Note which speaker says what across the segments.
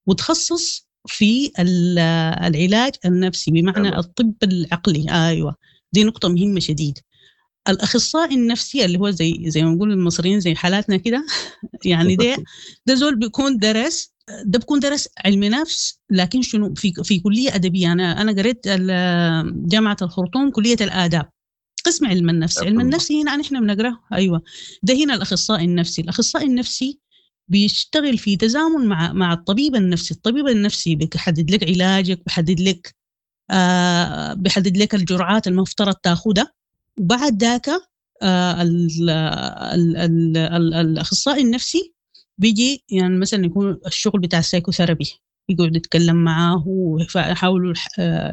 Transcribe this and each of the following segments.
Speaker 1: وتخصص في العلاج النفسي بمعنى الطب العقلي. ايوه، دي نقطة مهمة شديد. الاخصائي النفسي اللي هو زي ما نقول المصريين زي حالاتنا كده، يعني ده زول بيكون درس، ده بيكون درس علم نفس، لكن شنو في كليه ادبية. انا قريت جامعه الخرطوم كليه الاداب قسم علم النفس. علم النفس هنا نحن بنقراه. ايوه، ده هنا الاخصائي النفسي. الاخصائي النفسي بيشتغل في تزامن مع الطبيب النفسي. الطبيب النفسي بيحدد لك علاجك، بيحدد لك الجرعات المفترض تاخدها، وبعد ذاك الاخصائي النفسي بيجي، يعني مثلا يكون الشغل بتاع ال psychotherapy، يقعد يتكلم معاه ويحاولوا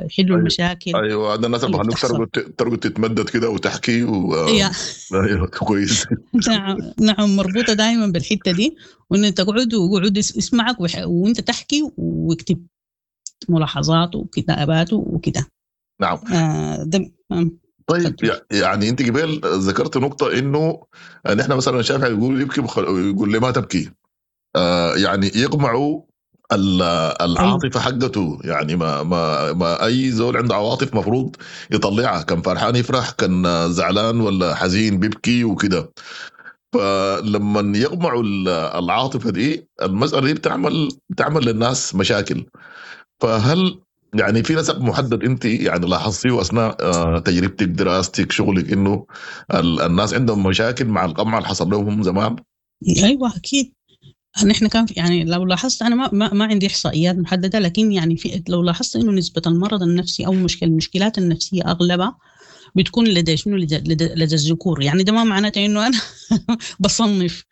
Speaker 1: يحلوا المشاكل.
Speaker 2: ايوه، هذا الناس اللي بخلوك ترقد تتمدد كده وتحكي ايوه كويس.
Speaker 1: نعم، مربوطة دائما بالحتة دي، وان تقعد ويقعد يسمعك وانت تحكي ويكتب ملاحظاته وكتاباته وكده.
Speaker 2: نعم. طيب، يعني انت قبل ذكرت نقطة انه نحن مثلا شافع يقول يبكي يقول لي ما تبكي، يعني يقمعوا العاطفة حقته، يعني ما ما ما اي زول عنده عواطف مفروض يطلعها، كان فرحان يفرح، كان زعلان ولا حزين بيبكي وكده. فلما يقمعوا العاطفة دي، المسالة دي بتعمل للناس مشاكل. فهل يعني في نسق محدد انت يعني لاحظتيه اثناء تجربتك، دراستك، شغلك، انه الناس عندهم مشاكل مع القمع اللي حصل لهم زمان؟
Speaker 1: ايوه اكيد. نحن كان يعني لو لاحظت، انا ما عندي احصائيات محددة، لكن يعني في لو لاحظت انه نسبه المرض النفسي او المشكلات النفسية اغلبها بتكون لدى شنو؟ لدى الذكور. يعني ده ما معناته انه انا بصنف،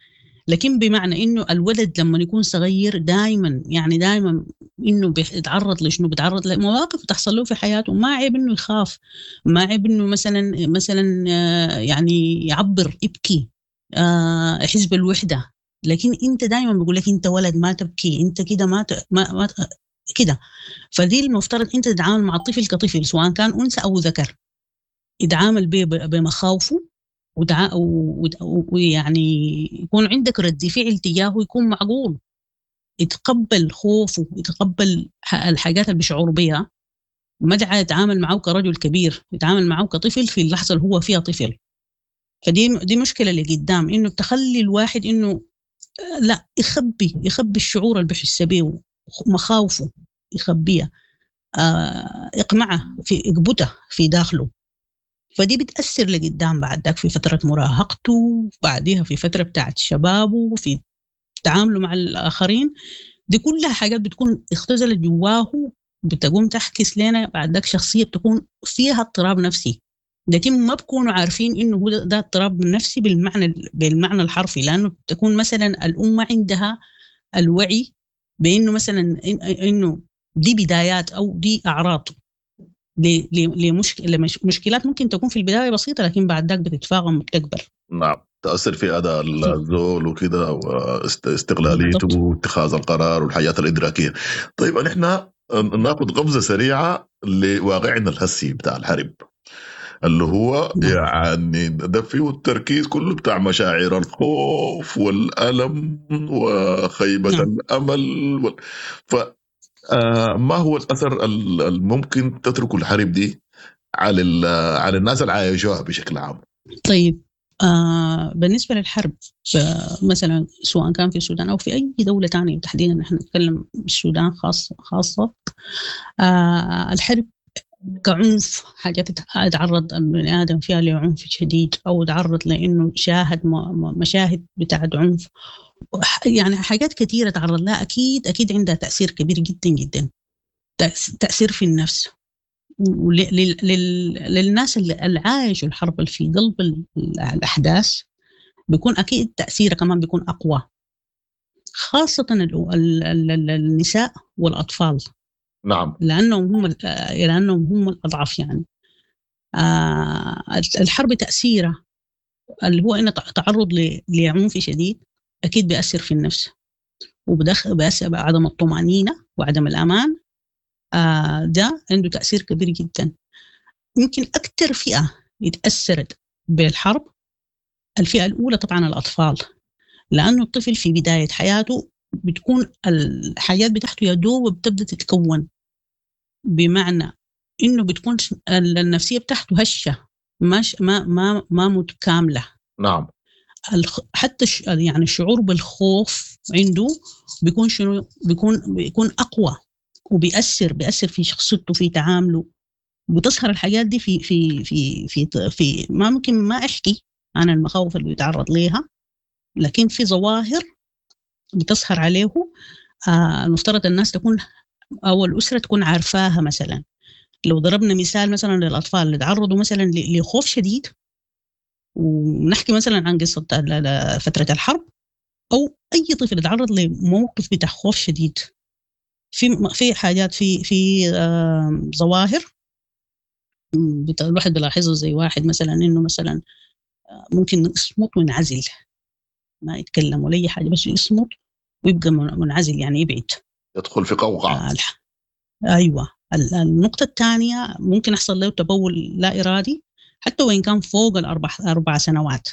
Speaker 1: لكن بمعنى انه الولد لما يكون صغير دائما، يعني دائما انه بيتعرض لشنو؟ بيتعرض لمواقف تحصل له في حياته، ما عيب انه يخاف، ما عيب انه مثلا يعني يعبر، يبكي، يحس بالوحدة. لكن انت دائما بيقول لك انت ولد ما تبكي، انت كده ما ما, ما كده. فدي المفترض انت تتعامل مع الطفل كطفل، سواء كان انثى او ذكر، يتعامل بمخاوفه ويعني يكون عندك رد فعل تجاهه يكون معقول، يتقبل خوفه، يتقبل الحاجات اللي بيشعر بها، ما يتعامل معه كرجل كبير، يتعامل معه كطفل في اللحظة اللي هو فيها طفل. فدي مشكلة اللي قدام، انه تخلي الواحد انه لا يخبي الشعور اللي بيحس بيه، مخاوفه يخبيها، اقمعه في اقبته في داخله. فدي بتأثر لقدام بعد ذاك في فترة مراهقته، بعديها في فترة بتاعت شبابه، في تعامله مع الآخرين. دي كلها حاجات بتكون اختزلت جواه، بتقوم تحكس لنا بعد ذاك شخصية بتكون فيها اضطراب نفسي، لكن ما بكونوا عارفين انه هو ده اضطراب نفسي بالمعنى الحرفي، لانه بتكون مثلا الام ما عندها الوعي بانه مثلا انه دي بدايات او دي اعراض لمشكلات ممكن تكون في البداية بسيطة، لكن بعد ذاك بتتفاقم وبتكبر.
Speaker 2: نعم، تاثر في اداء الزول وكده، واستقلاليته واتخاذ القرار والحياة الادراكيه. طيب نحن ناخذ قفزه سريعة لواقعنا الهسي بتاع الحرب، اللي هو يعني ده فيه التركيز كله بتاع مشاعر الخوف والألم وخيبة الأمل ف ما هو الأثر الممكن تتركه الحرب دي على الناس اللي عايشوها بشكل عام؟
Speaker 1: طيب، بالنسبة للحرب مثلا سواء كان في السودان أو في أي دولة تانية، تحديدا نحن نتكلم السودان خاصة، الحرب كعنف، حاجات تعرض البني آدم فيها لعنف شديد، أو تعرض لأنه شاهد مشاهد بتاعت عنف، يعني حاجات كثيرة تعرض لها، أكيد أكيد عندها تأثير كبير جدا جدا، تأثير في النفس وللناس اللي عايشوا الحرب اللي في قلب الأحداث، بيكون أكيد تأثيره كمان بيكون أقوى، خاصة النساء والأطفال.
Speaker 2: نعم،
Speaker 1: لأنهم هم الأضعف. يعني الحرب تأثيره اللي هو إنه تعرض لعنف شديد أكيد بيأثر في النفس، وبيأثر بعدم الطمأنينة وعدم الأمان. ده عنده تأثير كبير جدا. يمكن أكثر فئة اتأثرت بالحرب الفئة الأولى طبعا الأطفال، لأنه الطفل في بداية حياته بتكون الحاجات بتاعته يا دوب بتبدا تتكون، بمعنى انه بتكون النفسية بتاعته هشه، ماش ما ما ما متكاملة.
Speaker 2: نعم.
Speaker 1: حتى يعني الشعور بالخوف عنده بيكون شنو؟ بيكون اقوى، وبيأثر في شخصيته، في تعامله. بتظهر الحاجات دي في في في في في ما ممكن ما احكي عن المخاوف اللي بيتعرض ليها، لكن في ظواهر بتظهر عليه المفترض الناس تكون او الاسرة تكون عارفاها. مثلا لو ضربنا مثال مثلا للاطفال اللي تعرضوا مثلا لخوف شديد، ونحكي مثلا عن قصة فترة الحرب، او اي طفل يتعرض لموقف بتاع خوف شديد، في حاجات في ظواهر الواحد بيلاحظها، زي واحد مثلا انه مثلا ممكن يصمت وينعزل، ما يتكلم ولا اي حاجة، بس يصمت ويبقى منعزل، يعني يبعد،
Speaker 2: يدخل في قوقعه.
Speaker 1: ايوه. النقطة الثانية ممكن يحصل له تبول لا ارادي حتى وان كان فوق الاربع سنوات.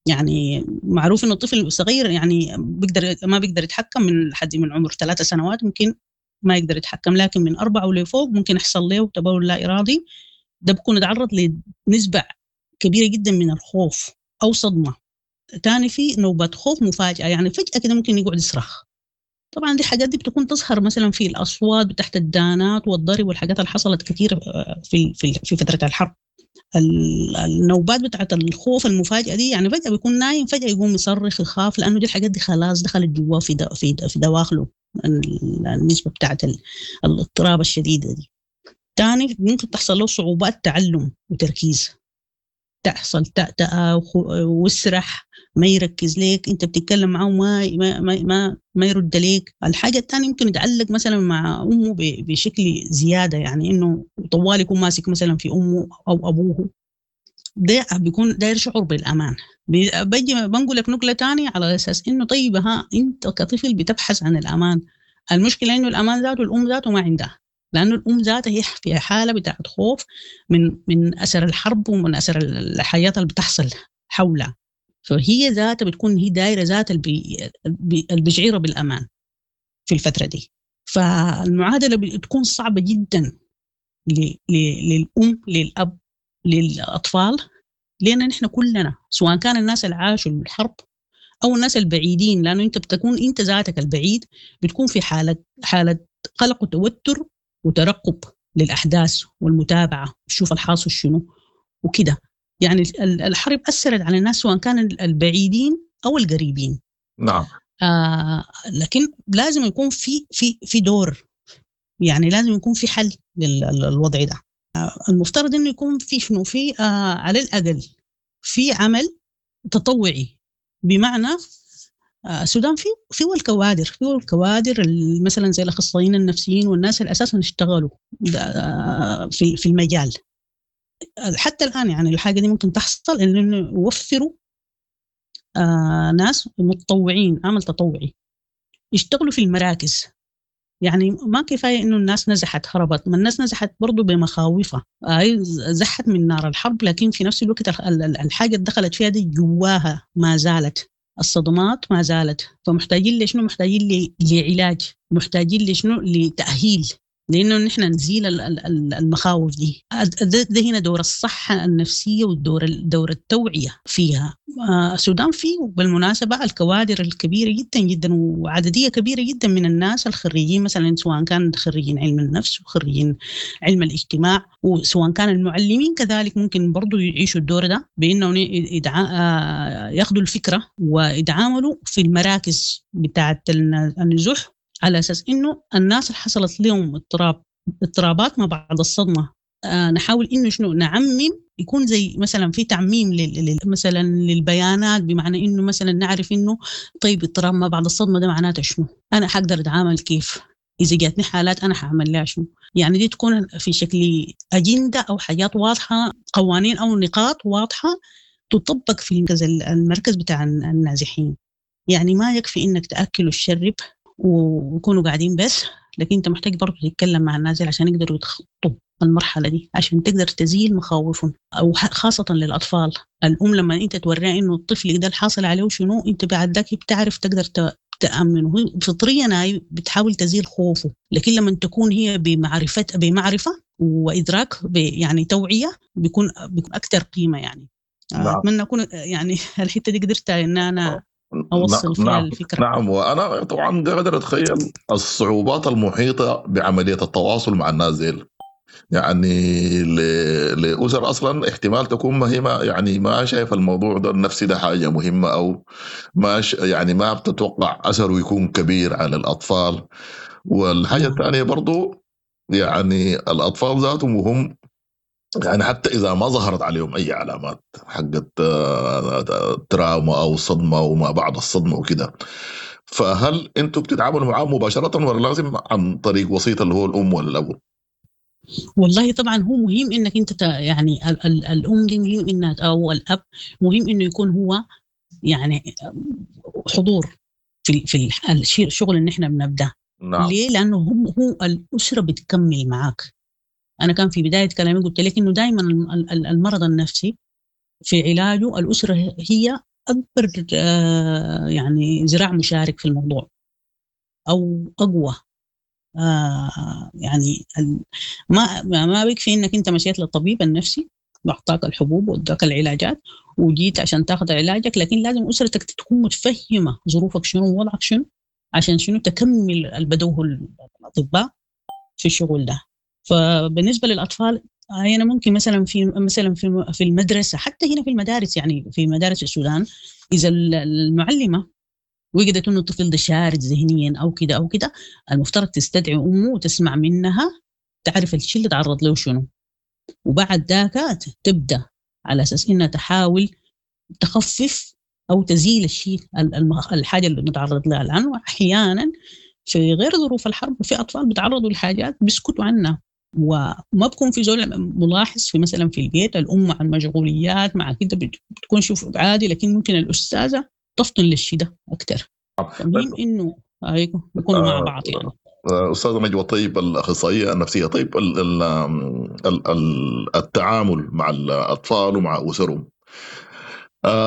Speaker 1: يعني معروف انه الطفل الصغير يعني بيقدر ما بيقدر يتحكم من حد من عمر 3 سنوات ممكن ما يقدر يتحكم، لكن من 4 ولفوق ممكن يحصل له تبول لا ارادي. ده بيكون يتعرض لنسبه كبيرة جدا من الخوف او صدمة. ثاني في نوبه خوف مفاجاة، يعني فجاة كده ممكن يقعد يصرخ. طبعا دي الحاجات دي بتكون تظهر مثلا في الاصوات تحت الدانات والضرب والحاجات اللي حصلت كثير في في في فترة الحرب. النوبات بتاعت الخوف المفاجئة دي، يعني فجاة بيكون نايم فجاة يقوم يصرخ يخاف، لانه دي الحاجات دي خلاص دخلت جواه في في في دواخله، النسبة بتاعت الاضطراب الشديدة دي. ثاني ممكن تحصل له صعوبات تعلم وتركيز، تحصل تأتأة وسرح، ما يركز ليك، انت بتتكلم معه ما ما ما ما يرد ليك. الحاجة الثانية ممكن يتعلق مثلا مع امه بشكل زيادة، يعني انه طوال يكون ماسك مثلا في امه او ابوه، ده بيكون داير شعور بالامان. بيجي بنقول لك نقله ثانية على اساس انه طيب ها انت كطفل بتبحث عن الامان. المشكلة انه الامان ذاته الام ذاته ما عندها، لانه الام ذاتها هي في حاله بتاعت خوف من اثر الحرب ومن اثر الحياة اللي بتحصل حولها، فهي ذاتها بتكون هي دايرة ذات اللي بيشعرها بالامان في الفترة دي. فالمعادله بتكون صعبة جدا للام، للاب، للاطفال، لان نحن كلنا سواء كان الناس اللي عاشوا الحرب او الناس البعيدين، لانه انت بتكون انت ذاتك البعيد بتكون في حاله قلق وتوتر وترقب للاحداث والمتابعة، تشوف الحاصل شنو وكده. يعني الحرب اثرت على الناس سواء كان البعيدين او القريبين.
Speaker 2: نعم.
Speaker 1: لكن لازم يكون في في في دور، يعني لازم يكون في حل للوضع ده. المفترض انه يكون في شنو، في على الاقل في عمل تطوعي، بمعنى السودان فيه الكوادر، مثلا زي الاخصائيين النفسيين والناس اللي اساسا اشتغلوا في المجال حتى الان. يعني الحاجة دي ممكن تحصل انه يوفروا ناس متطوعين، عمل تطوعي، يشتغلوا في المراكز. يعني ما كفاية انه الناس نزحت هربت، ما الناس نزحت برضه بمخاوفها، زحت من نار الحرب، لكن في نفس الوقت الحاجة اللي دخلت فيها دي جواها ما زالت الصدمات، ما زالت. فمحتاجين لشنو؟ محتاجين لعلاج، محتاجين لشنو؟ لتأهيل، لأنه نحن نزيل المخاوف دي. ده هنا دور الصحة النفسية والدور دور التوعية فيها. السودان فيه بالمناسبة الكوادر الكبيرة جدا جدا وعددية كبيرة جدا من الناس الخريجين، مثلا سواء كان خريجين علم النفس وخريجين علم الاجتماع، وسواء كان المعلمين كذلك ممكن برضو يعيشوا الدور ده، بأنهم ياخذوا الفكرة ويتعاملوا في المراكز بتاعة النزوح، على أساس إنه الناس اللي حصلت لهم اضطرابات ما بعد الصدمة نحاول إنه شنو نعمم، يكون زي مثلا في تعميم مثلا للبيانات، بمعنى إنه مثلا نعرف إنه طيب اضطراب ما بعد الصدمة ده معناته شنو، أنا حقدر أتعامل كيف، إذا جاتني حالات أنا حأعمل لها شنو. يعني دي تكون في شكل أجندة أو حاجات واضحة، قوانين أو نقاط واضحة تطبق في المركز بتاع النازحين. يعني ما يكفي إنك تأكل وتشرب ويكونوا قاعدين بس، لكن انت محتاج برضه تتكلم مع الناس عشان يقدروا يتخطوا المرحلة دي، عشان تقدر تزيل مخاوفهم، او خاصة للاطفال. الام لما انت توريها انه الطفل ده الحاصل عليه شنو، انت بعد ذاك بتعرف تقدر تأمنه، هي فطريا هي بتحاول تزيل خوفه، لكن لما تكون هي بمعرفة وإدراك يعني توعية بيكون أكثر قيمة يعني. أتمنى أكون يعني الحتة دي قدرت إن أنا أوصل فيها الفكرة.
Speaker 2: نعم، وأنا طبعا قادر أتخيل الصعوبات المحيطة بعملية التواصل مع الناس ديل، يعني لأسر أصلا احتمال تكون ما هي ما يعني ما شايف الموضوع ده النفسي ده حاجة مهمة، أو ما يعني ما بتتوقع أثره يكون كبير على الأطفال. والحاجة الثانية برضو يعني الأطفال ذاتهم وهم يعني حتى إذا ما ظهرت عليهم أي علامات حقت تراوما أو صدمة وما بعد الصدمة وكده، فهل أنتوا بتتعاملوا معاهم مباشرة ولا لازم عن طريق وسيط اللي هو الأم ولا الأبو؟
Speaker 1: والله طبعا هو مهم انك انت يعني الام دي مهم انها او الاب مهم انه يكون هو يعني حضور في الشغل اللي احنا بنبداه.
Speaker 2: نعم.
Speaker 1: ليه؟ لانه هو الاسرة بتكمل معاك. انا كان في بداية كلامي قلت لك انه دائما المرض النفسي في علاجه الاسرة هي اكبر يعني ذراع مشارك في الموضوع او اقوى. يعني ما بيكفي انك انت مشيت للطبيب النفسي واعطاك الحبوب واداك العلاجات وجيت عشان تاخذ علاجك، لكن لازم اسرتك تكون متفهمه ظروفك شنو ووضعك شنو عشان شنو تكمل البدوه الاطباء في الشغل ده. فبالنسبه للاطفال انا ممكن مثلا في المدرسة، حتى هنا في المدارس، يعني في مدارس السودان اذا المعلمة وجدت انه الطفل ده شارد ذهنيا او كده او كده، المفترض تستدعي امه وتسمع منها، تعرف الشيء اللي تعرض له شنو، وبعد ذاك تبدا على اساس انها تحاول تخفف او تزيل الشيء الحاجة اللي متعرض لها الان. واحيانا في غير ظروف الحرب في اطفال بيتعرضوا لحاجات بيسكتوا عنها وما بكون في زول ملاحظ، في مثلا في البيت الام مع المشغوليات مع كده بتكون شوف عادي، لكن ممكن الاستاذة تفطن للشيء ده اكثر. مهم انه يكونوا مع بعض يعني.
Speaker 2: استاذه نجوى طيب، الاخصائيه النفسية، طيب ال ال ال التعامل مع الاطفال ومع اسرهم،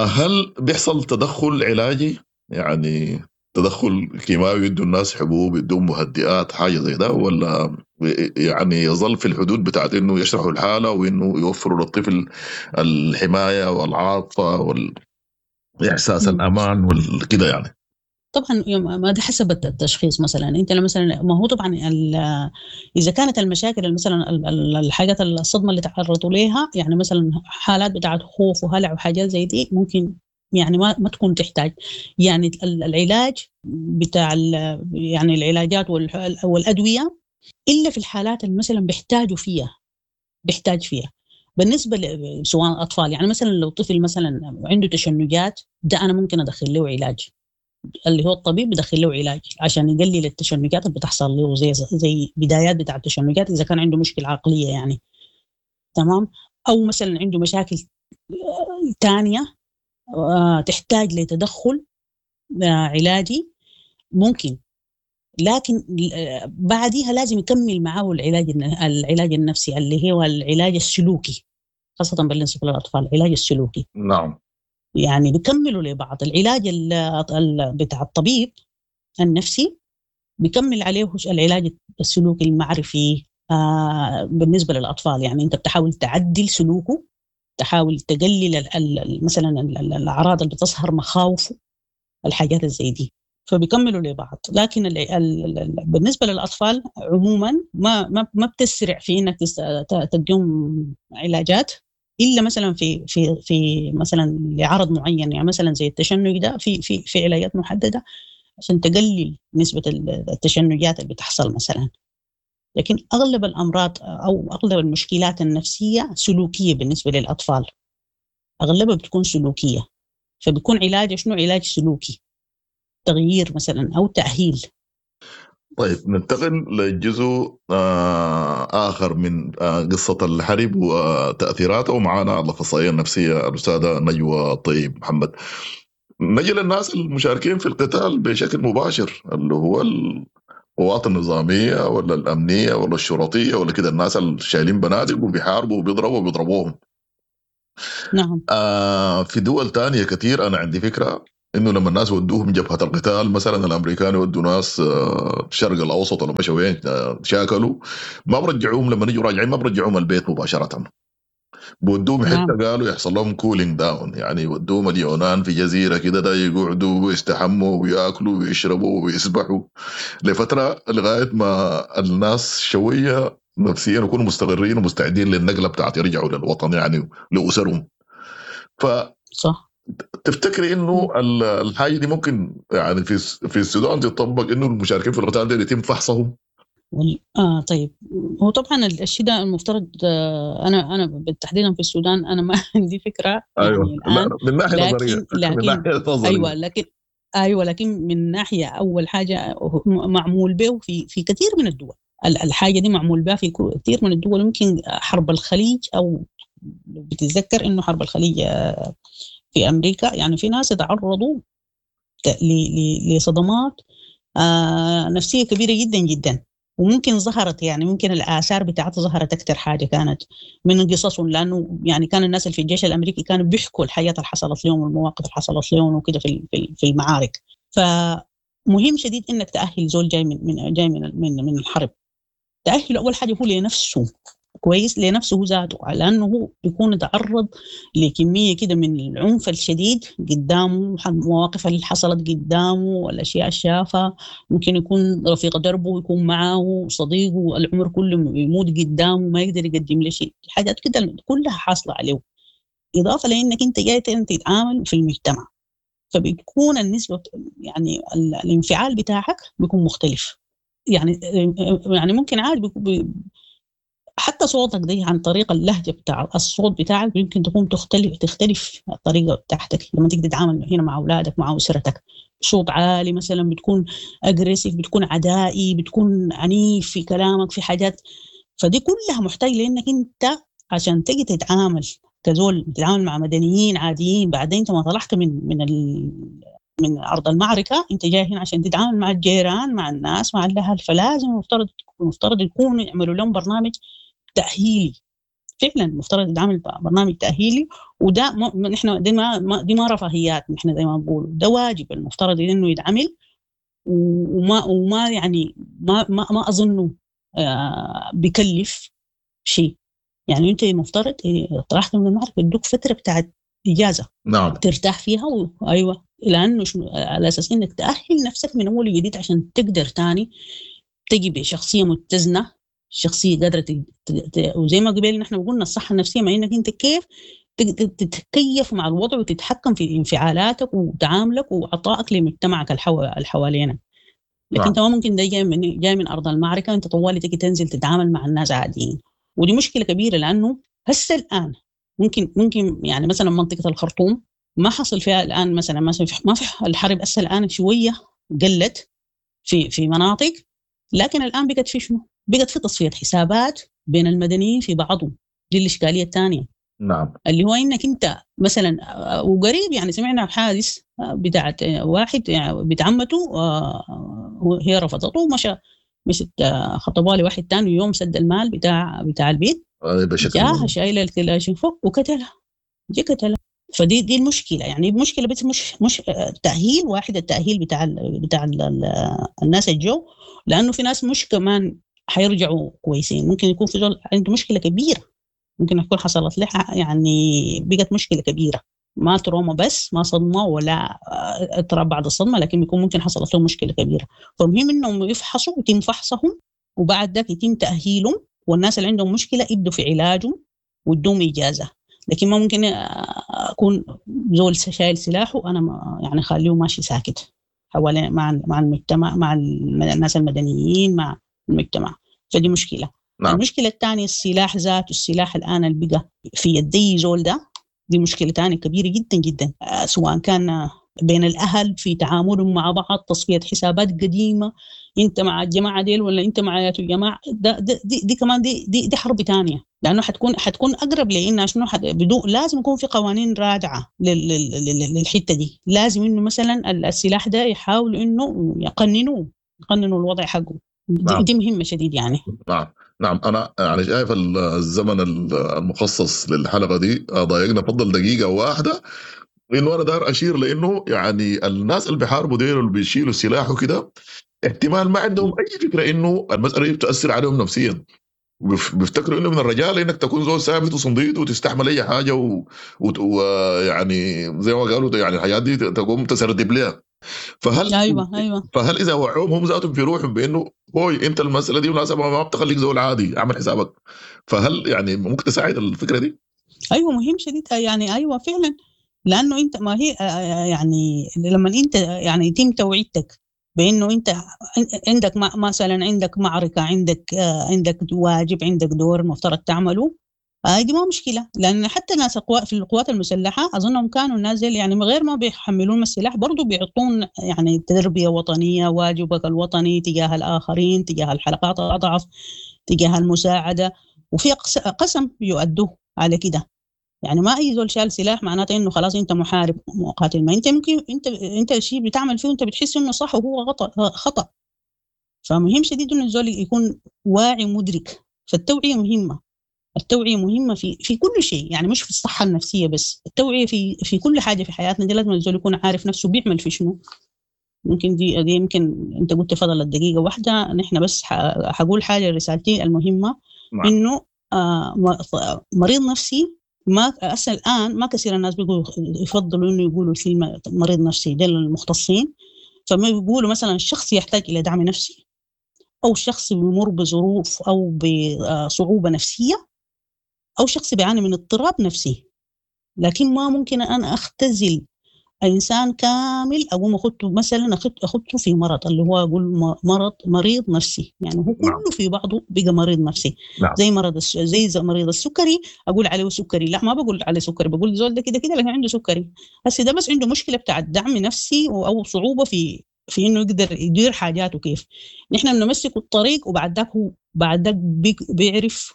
Speaker 2: هل بيحصل تدخل علاجي؟ يعني تدخل كيماوي، يدوا الناس حبوب، يدوا مهدئات، حاجة زي ده، ولا يعني يظل في الحدود بتاعت انه يشرحوا الحالة وانه يوفروا للطفل الحماية والعاطفة والاحساس الامان والكده يعني؟
Speaker 1: طبعا ما ده حسب التشخيص. مثلا انت مثلا ما هو طبعا اذا كانت المشاكل مثلا الحاجات الصدمة اللي تعرضوا ليها، يعني مثلا حالات بتاعت خوف وهلع وحاجات زي دي، ممكن يعني ما تكون تحتاج يعني العلاج بتاع يعني العلاجات والادوية، الا في الحالات اللي مثلا بيحتاجوا فيها، بيحتاج فيها. بالنسبة سواء اطفال، يعني مثلا لو طفل مثلا عنده تشنجات، ده انا ممكن ادخل له علاج، اللي هو الطبيب بدخل له علاج عشان يقلل التشنجات اللي بتحصل له، زي بدايات بتاع التشنجات اذا كان عنده مشكلة عقلية يعني، تمام، او مثلا عنده مشاكل ثانية تحتاج لتدخل علاجي ممكن، لكن بعديها لازم يكمل معاه العلاج النفسي اللي هو العلاج السلوكي، خاصة بالنسبة للأطفال العلاج السلوكي.
Speaker 2: نعم.
Speaker 1: يعني بيكملوا لبعض. العلاج بتاع الطبيب النفسي بيكمل عليه العلاج السلوكي المعرفي بالنسبة للأطفال. يعني أنت بتحاول تعدل سلوكه، تحاول تقلل مثلا الأعراض اللي بتظهر، مخاوفه، الحاجات زي دي، فبيكملوا لبعض. لكن بالنسبة للأطفال عموما ما بتسرع في إنك تديهم علاجات، إلا مثلا في في في مثلا لعرض معين، يعني مثلا زي التشنج ده في في في علاجات محددة عشان تقلل نسبة التشنجات اللي بتحصل مثلا. لكن أغلب الأمراض أو أغلب المشكلات النفسية سلوكية بالنسبة للأطفال، أغلبها بتكون سلوكية، فبيكون علاج شنو؟ علاج سلوكي، تغيير مثلا أو تأهيل.
Speaker 2: طيب ننتقل لجزء آخر من قصة الحرب وتأثيراته، ومعنا الأخصائية النفسية الأستاذة نجوى طيب محمد. نجي للناس المشاركين في القتال بشكل مباشر، اللي هو القوات النظامية ولا الأمنية ولا الشرطية ولا كده، الناس اللي شايلين بنادق وبيحاربوا وبيضربوا وبيضربوهم.
Speaker 1: نعم.
Speaker 2: في دول تانية كثير أنا عندي فكرة انه لما الناس ودوهم جبهة القتال مثلا، الامريكان يودوا ناس الشرق الاوسط ولا مشوا وين، شاكلوا، ما برجعوهم لما يجوا راجعين، ما برجعوهم البيت مباشرة، بودوهم حتة قالوا يحصل لهم cooling down، يعني يودوهم اليونان في جزيرة كده، ده يقعدوا ويستحموا وياكلوا ويشربوا ويسبحوا لفترة لغاية ما الناس شوية نفسيا يكونوا مستقرين ومستعدين للنقله بتاعت يرجعوا للوطن يعني لاسرهم. ف
Speaker 1: صح.
Speaker 2: تفتكري انه الحاجة دي ممكن يعني في السودان تطبق، انه المشاركين في القتال دي يتم فحصهم؟
Speaker 1: طيب، هو طبعا الشيء ده المفترض، انا بالتحديد في السودان انا ما عندي فكرة.
Speaker 2: ايوه
Speaker 1: يعني الان
Speaker 2: لا، من ناحية نظرية.
Speaker 1: لكن
Speaker 2: من ناحية نظرية.
Speaker 1: ايوه لكن من ناحية اول حاجة معمول به في كثير من الدول، الحاجة دي معمول بها في كثير من الدول. يمكن حرب الخليج، او بتتذكر انه حرب الخليج في امريكا، يعني في ناس تعرضوا لصدمات نفسية كبيرة جدا جدا، وممكن ظهرت يعني ممكن الآثار بتاعتها ظهرت أكثر حاجة كانت من قصصهم، لأنه يعني كان الناس اللي في الجيش الأمريكي كانوا بيحكوا الحياة اللي حصلت لهم والمواقف اللي حصلت لهم وكده في المعارك. فمهم شديد إنك تأهل زول جاي من جاي من الحرب، تأهله أول حاجة هو لنفسه كويس، لنفسه هو ذاته، لأنه هو بيكون تعرض لكمية كده من العنف الشديد قدامه، المواقف اللي حصلت قدامه والأشياء اللي شافها، ممكن يكون رفيق دربه، يكون معاه صديقه العمر كله يموت قدامه ما يقدر يقدم له شيء، حاجات كده كلها حاصلة عليه. إضافة لأنك أنت جاي تتعامل في المجتمع، فبتكون النسبة يعني الانفعال بتاعك بيكون مختلف، يعني ممكن عادي حتى صوتك دي عن طريق اللهجة بتاع الصوت بتاعك يمكن تكون تختلف الطريقة بتاعتك لما تيجي تتعامل هنا مع أولادك مع أسرتك. صوت عالي مثلا، بتكون أجريسيف، بتكون عدائي، بتكون عنيف في كلامك، في حاجات. فدي كلها محتاج لأنك أنت عشان تيجي تتعامل كزول، تتعامل مع مدنيين عاديين. بعدين أنت ما طلعت من أرض المعركة، أنت جاي هنا عشان تتعامل مع الجيران، مع الناس، مع الأهل. فلازم المفترض يكون يعملوا لهم برنامج تأهيلي، فعلا المفترض يتعمل برنامج تأهيلي. وده نحن دي ما رفاهيات، نحن زي ما بنقول ده واجب المفترض انه يتعمل. وما يعني ما ما, ما اظنه بكلف شيء. يعني انت المفترض طرحت من المعركة يدوك فترة بتاعت اجازة،
Speaker 2: نعم،
Speaker 1: ترتاح فيها ايوه، لانه على اساس انك تأهل نفسك من اول وجديد عشان تقدر تاني تجي بشخصية متزنة، شخصية قادرة وزي ما قبل نحن قلنا الصحة النفسية، ما إنك أنت كيف تتكيف مع الوضع وتتحكم في انفعالاتك وتعاملك وعطائك لمجتمعك الحوالينا. لكن أنت ما ممكن ده جاي من أرض المعركة أنت طوالي تجي تنزل تتعامل مع الناس عاديين، ودي مشكلة كبيرة. لأنه هسه الآن ممكن يعني مثلا منطقة الخرطوم ما حصل فيها الآن مثلا ما في الحرب هسه الآن شوية قلت في مناطق، لكن الآن بقت في شنو؟ بقت في تصفية حسابات بين المدنيين في بعضهم. دي الإشكالية الثانية.
Speaker 2: نعم،
Speaker 1: اللي هو إنك أنت مثلا وقريب يعني سمعنا حادث بتاعت واحد يعني بنت عمته هي رفضته ومشى مشت خطبها لواحد ثاني، يوم سد المال بتاع البيت جاها شايلة الكلاشين فوق وقتلها، جي قتلها. فدي دي المشكلة، يعني المشكلة بس مش تأهيل واحد، التأهيل بتاع الناس الجو، لأنه في ناس مش كمان حيرجعوا كويسين، ممكن يكون في زول عنده مشكلة كبيرة، ممكن يكون حصلت له يعني بقت مشكلة كبيرة، ما تروما بس، ما صدمة ولا اضطراب بعد الصدمة، لكن بيكون ممكن حصلت له مشكلة كبيرة. فمهم إنهم يفحصوا، يتم فحصهم، وبعد ذاك يتم تأهيلهم، والناس اللي عندهم مشكلة يبدوا في علاجهم ويدوم إجازة. لكن ما ممكن أكون زول شايل سلاحه أنا يعني خليه ماشي ساكت حوالي مع المجتمع، مع الناس المدنيين، مع المجتمع. فدي مشكلة.
Speaker 2: نعم.
Speaker 1: المشكلة الثانية السلاح ذاته، السلاح الآن اللي بقى في يدي زول ده، دي مشكلة ثانية كبيرة جدا جدا، سواء كان بين الأهل في تعاملهم مع بعض، تصفية حسابات قديمة، أنت مع الجماعة ديل ولا أنت مع يا جماعة ده دي, دي كمان دي, دي دي حرب ثانية، لأنه حتكون أقرب لإنها شنو، بدون لازم يكون في قوانين رادعة للحتة دي. لازم إنه مثلا السلاح ده يحاولوا إنه يقننوا الوضع حقه.
Speaker 2: نعم.
Speaker 1: دي مهمة شديد يعني.
Speaker 2: نعم نعم، أنا يعني شايف الزمن المخصص للحلقة دي ضايقنا، فضل دقيقة واحدة. انه انا دار اشير لانه يعني الناس اللي بيحاربوا ديل واللي بيشيلوا السلاح وكده احتمال ما عندهم اي فكرة انه المسالة دي بتاثر عليهم نفسيا. بيفتكروا انه من الرجال انك تكون زول ثابت وصنديد وتستحمل اي حاجة ويعني زي ما قالوا يعني الحاجات دي تقوم تسردب لها. فهل
Speaker 1: ايوه
Speaker 2: فهل اذا وعوهم هم ذاتهم في روحهم بانه هوي انت المسالة دي مناسبة ما بتخليك زول عادي، اعمل حسابك، فهل يعني ممكن تساعد الفكرة دي؟
Speaker 1: ايوه مهم شديد يعني. ايوه فعلا، لانه انت ما هي يعني لما انت يعني يتم توعيتك بانه انت عندك مثلا عندك معركة، عندك واجب، عندك دور مفترض تعمله، دي ما مشكلة. لان حتى ناس في القوات المسلحة اظنهم كانوا الناس يعني من غير ما بيحملون السلاح برضو بيعطون يعني تربيه وطنية، واجبك الوطني تجاه الاخرين، تجاه الحلقات الاضعف، تجاه المساعدة، وفي قسم يؤدوه على كده. يعني ما اي زول شال سلاح معناته انه خلاص انت محارب مقاتل، ما انت ممكن انت شيء بتعمل فيه وانت بتحس انه صح وهو خطا. فمهم شديد انه الزول يكون واعي ومدرك. فالتوعيه مهمة، التوعية مهمة في كل شيء، يعني مش في الصحة النفسية بس، التوعية في كل حاجة في حياتنا دي لازم الزول يكون عارف نفسه بيعمل في شنو. ممكن دي يمكن انت قلت فضلت دقيقة واحدة، نحن بس حقول حاجة رسالتي المهمة. نعم. انه مريض نفسي ما أصلا الآن ما كثير الناس بيقولوا يفضلوا إنه يقولوا كلمة مريض نفسي، ده للمختصين. فما بيقولوا مثلا الشخص يحتاج إلى دعم نفسي، أو شخص بيمر بظروف أو بصعوبة نفسية، أو شخص بيعاني من اضطراب نفسي. لكن ما ممكن أنا أختزل إنسان كامل أقوم أخذته مثلا أخذته في مرض اللي هو أقول مرض مريض نفسي، يعني هو كله في بعضه بقى مريض نفسي. نعم. زي مرض زي مريض السكري أقول عليه سكري، لا ما بقول عليه سكري، بقول زول ده كده كده لكن عنده سكري، بس ده بس عنده مشكلة بتاع الدعم نفسي أو صعوبة في إنه يقدر يدير حاجاته كيف. نحن بنمسك الطريق وبعد ذاك هو بعد ذاك بيعرف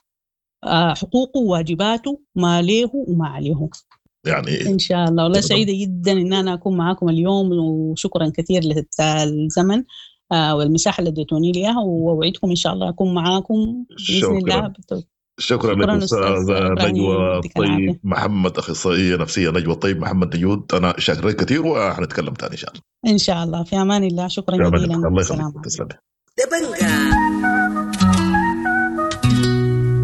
Speaker 1: حقوقه وواجباته، ما له وما عليه.
Speaker 2: يعني
Speaker 1: إن شاء الله. والله سعيدة جدا إن أنا أكون معاكم اليوم، وشكرا كثير للزمن والمساحة اللي اديتوني ليها، وأوعدكم إن شاء الله أكون معاكم بإذن الله.
Speaker 2: شكرا لك أستاذة نجوى الطيب محمد، أخصائية نفسية نجوى الطيب محمد نجود. أنا شاكر لك كثير وحنتكلم ثاني إن شاء الله.
Speaker 1: إن شاء الله، في أمان الله. شكرا جزيلا.
Speaker 2: الله يخليك، تسلمي.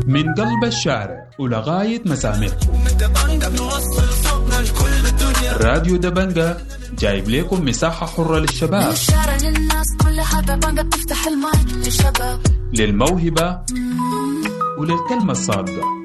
Speaker 3: من قلب الشارع ولغاية مسامعكم، راديو دبنجة جايب لكم مساحة حرة للشباب، للموهبة وللكلمة الصادقة.